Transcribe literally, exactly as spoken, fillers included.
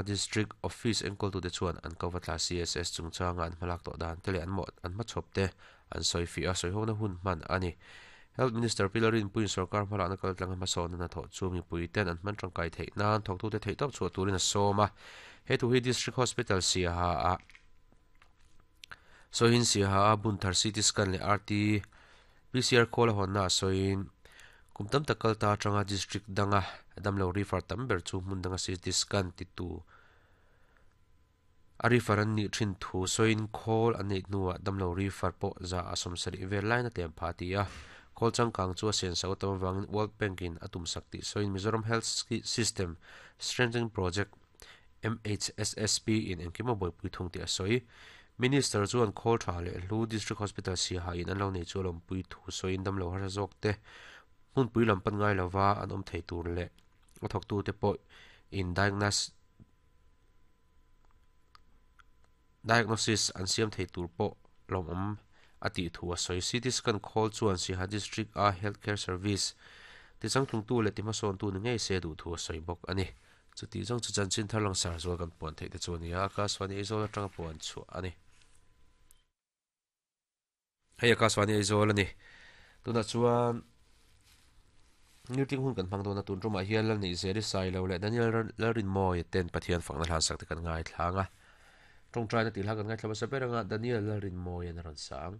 District Office enkawltute chuan an ko vatla C S S chungchanga an hmalak tawh dan te leh an mawh an hmachhawp te an sawi fiah a, sawihona hun hman a ni. Health Minister Pi Lalrinpuiin sorkar hmalakna kaltlanga hmasawnna hnathawh chu mipui ten an hman tangkai theih nan thawktute theihtawp chhuah turin a sawm a. He thu hi District Hospital Siaha ah sawiin Siaha a Bunthar C T scan leh R T P C R khawl a hawnna a sawiin kum tam tak kal ta atanga district danga damlo refer tam ber chu hmun danga C T scan titu a refer an nih thin thu sawiin khawl an neih hnuah damlo refer pawh za a sawmsarih vel lain a tlem phah a ti a. Khawl changkang chu a senso tam awangin World Bank in a tum sak tih sawiin Mizoram Health System Strengthening Project M H S S P in engkim a buaipui thung tih a sawi. Minister chuan khawl tha leh hlu District Hospital Siaha in an lo nei chu a lawmpui thu sawiin damlo harsa zawk te hmunpui lam pan ngai lova an awm thei tur leh a thawktute pawh in diagnosis an siam thei tur pawh lawmawm a tih thu a sawi. C T scan khawl chuan Siaha District a Healthcare Service tichangtlungtu leh tihmasawntu ni ngei se duh thu a sawi bawk a ni. Chuti zawng chu chanchin thar langsar zual kan puan theih te chu a ni a, Akashvani Aizawl atanga puan chhuah a ni. Hei Akashvani Aizawl a ni. Tunah chuan meeting hun kan hmang dawn a, tun tumah hian Lalneihzeli Sailo leh Daniel Lalrinmawia ten Pathian fakna hlan sak te kan ngaithlang a. Tawngtaina tih hla kan ngaithla hmasa ber anga Daniel Lalrinmawia'n a rawn sang.